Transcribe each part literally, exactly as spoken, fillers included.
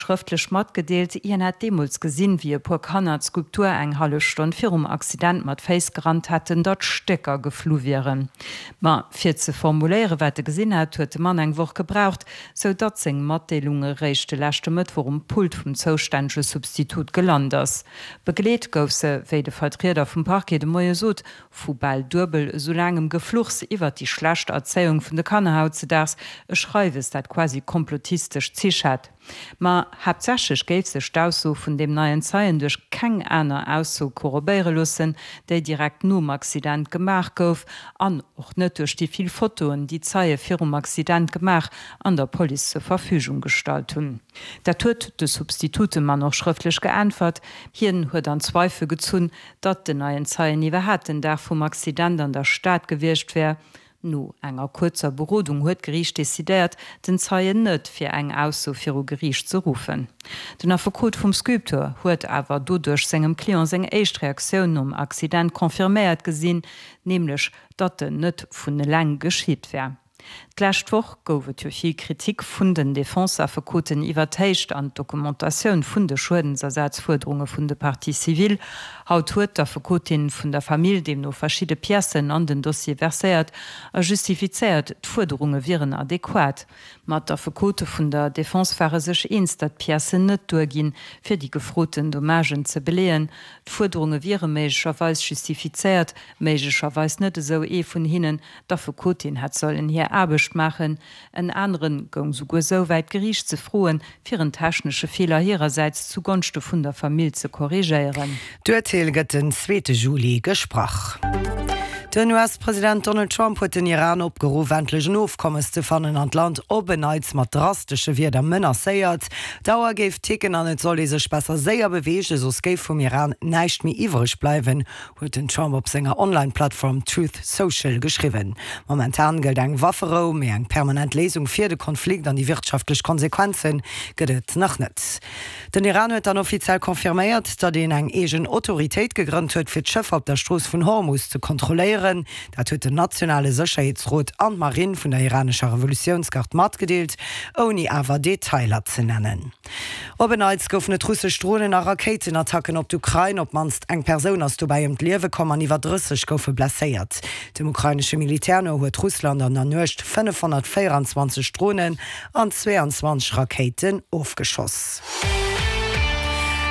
Schrëftlech matgedeelt, hien hätt deemools gesinn, wéi e puer Kanner d'Skulptur eng hallef Stonn virum Accident mat Féiss gerannt hätten, datt Stécker geflu wieren. Ma fir ze formuléieren, wat e gesinn hat, huet de Mann eng Woch gebraucht, sou datt seng Matdeelung eréischt de leschte Mëttwoch um Pult vum zoustännege Substitut gelant ass. Begleet gouf se, wéi de Vertrieder vum Parquet de Moie sot, vu bal duebel esou laangem Gefluchs iwwert déi schlecht Erzéiung vun de Kanner hautzedaags, e Schreiwes, dat quasi komplotistesch Zich hat. Ma haaptsächlech géif sech d'Ausso vun deem neien Zeien duerch keng aner Ausso korrobéiere loossen, déi direkt nom Accident gemaach gouf, an och net duerch déi vill Fotoen, déi Zeie virum Accident gemaach an der Police zur Verfügung gestallt hunn. Dat huet de Substitutemann och schrëftlech geäntwert. Hien huet an Zweifel gezunn, datt den neien Zeien iwwerhaapt den Dag vum Accident an der Stad gewiescht wär. No enger kuerzer Berodung huet d'Geriicht decidéiert, den Zeien net fir eng Ausso viru Geriicht ze ruffen. Den Affekot vum Sculpteur huet awer doduerch sengem Client seng éischt Reaktioun nom Accident confirméiert gesinn, nämlech datt en net vun eleng geschitt wär. D'lescht Woch gouf et jo vill Kritik vun den Defense-Affekoten iwwer d'Héicht an d'Dokumentatioun vun de Schuedensersazfuerderunge vun de Parties civiles. Haut huet d'Affekotin vun der Famill deemno verschidde Piècen an den Dossier verséiert a justifizéiert, d'Fuerderunge wieren adequat. Ma d'Affekote vun der Defense ware sech eens, datt d'Piècen net duerginn, fir déi gefroten Dommagen ze beleeën. D'Fuerderunge wiere méiglecherweis justifizéiert, méiglecherweis net, esou ee vun hinnen. D'Affekotin hätt sollen hir Aarbecht maachen. En anere goung souguer esou wäit, d'Geriicht ze froen, fir en technesche Feeler hirersäits zu Gonschte vun der Famill ze korrigéieren. D'Urteel gëtt den zweete Juli gesprach. Den U S-President Donald Trump huet den Iran opgeruff, endlech en Ofkommes ze fannen an d'Land op en Neits mat drastesche Wierder menacéiert. D'Auer géif ticken an et soll ee sech besser séier beweegen, soss géif vum Iran näischt méi iwwereg bleiwen, huet den Trump op senger Online-Plattform Truth Social geschriwwen. Momentan gëllt eng Wafferou, mee eng permanent Léisung fir de Konflikt an déi wirtschaftlech Konsequenze gëtt et nach net. Den Iran huet dann offiziell confirméiert, datt een eng eegen Autoritéit gegrënnt huet, fir d'Schëffer op der Strooss vun Hormus ze kontrolléieren. Dat huet den nationale Sécherheetsrot an d'Marinn vun der iranescher Revolutiounsgard matgedeelt, ouni awer Detailer ze nennen. Op en Neits goufen et russesch Dronen a Rakéitenattacken op d'Ukrain. Op d'mannst eng Persoun ass dobäi ëm d'Liewe komm an iwwer drësseg goufe blesséiert. Dem ukrainesche Militär no huet Russland an der Nuecht fënnefhonnertvéieranzwanzeg Dronen an zweeanzwanzeg Rakéiten ofgeschoss.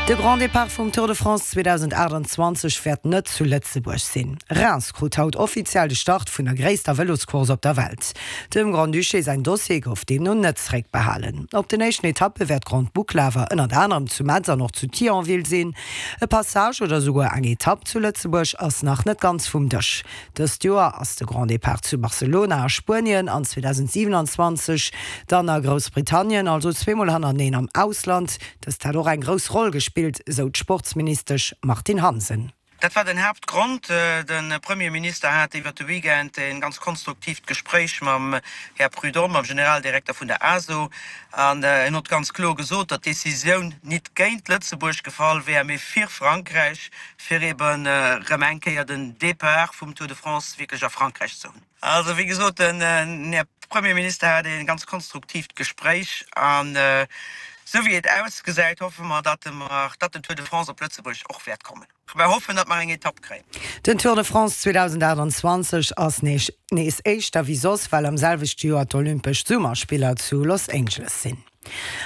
De Grand Départ vum Tour de France zweedausendaachtanzwanzeg wäert net zu Lëtzebuerg sinn. Reims krut haut offiziell de Start vun der gréisster Vëloscourse op der Welt. Dem Grand-Duché säin Dossier gouf deemno net zeréckbehalen. Op den éischten Etappe wäert d'Grande Boucle awer ënnert anerem zu Metz an och zu Thionville sinn. E Passage oder souguer eng Etapp zu Lëtzebuerg ass nach net ganz vum Dësch. Dëst Joer ass de Grand Départ zu Barcelona a Spuenien an zweedausendsiewenanzwanzeg dann a Groussbritannien, also zweemol hannerteneen am Ausland. Dëst hätt och eng grouss Roll gespillt, sou d'Sportsministesch Martine Hansen. Dat war den Haaptgrond. De Premierminister hat iwwer de Weekend e ganz konstruktiivt Gespréich mam Här Prudhomme, mam Generaldirekter vun der A S O, an en huet ganz kloer gesot, datt d'Decisioun nit géint Lëtzebuerg gefall wär, mee fir Frankräich, fir eben erëm eng Kéier den Départ vum Tour de France wierklech a Frankräich ze hunn. Also wéi gesot, den Här Premierminister hat e ganz konstruktiivt Gespréich an esou wéi et ausgesäit, hoffe mer, datt mer, datt den Tour de France op Lëtzebuerg och wäert kommen. Mer hoffen, datt mer eng Etapp kréien. Den Tour de France zweedausendaachtanzwanzeg ass nees nees éischter wéi soss, well am selwechte Joer d'Olympesch Summerspiller zu Los Angeles sinn.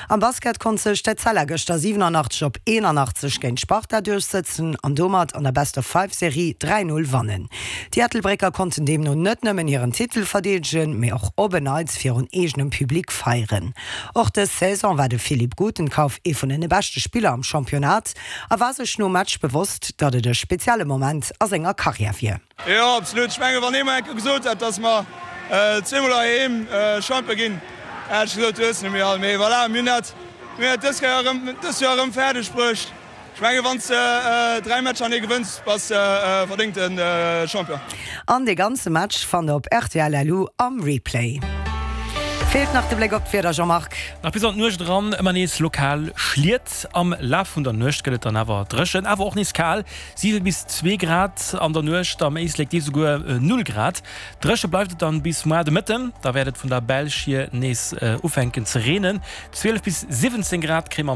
Am Basket konnt sech d'Etzella gëschter siwenanachtzeg op eenanachtzeg géint d'Sparta duerchsëtzen an domat an der Best-of-Five-Serie dräi Null wannen. Déi Ettelbrécker konnten deemno net nëmmen hiren Titel verdeedegen, mee och op en Neits virun eegenem Public feieren. Och dës Saison war de Philipp Gutenkauf ee vun den beschte Spiller am Championnat a war sech nom Match bewosst, datt et e spezielle Moment a senger Karriär wier. Jo, absolut. Ech mengen, wann ee mer eng Kéier gesot hätt, datt mer zweemol heiheem Champion ginn, hätt ech gesot, du hues net méi all. Mee voilà, mir hunn dat, mir hunn dat dës Kéier erëm, dëst Joer erëm fäerdeg bruecht. Ech mengen, wann s de dräi Matcher hanneree gewënns, bass de verdéngte Champion. An dee ganze Match fannt der op R T L L U am Replay. Feelt nach de Bléck op d'Wieder, Jean-Marc. Nach bis an d'Nuecht eran ëmmer nees lokal Schliet. Am Laf vun der Nuecht gëtt et dann awer dréchen, awer och nees kal, siwe bis zwee Grad an der Nuecht, am Éislek déi souguer null Grad. Dréche bleift et dann bis muer de Mëtten, da wäert et vun der Belsch hier nees ufänken ze reenen. zwielef bis siwwenzéng Grad kréie mer.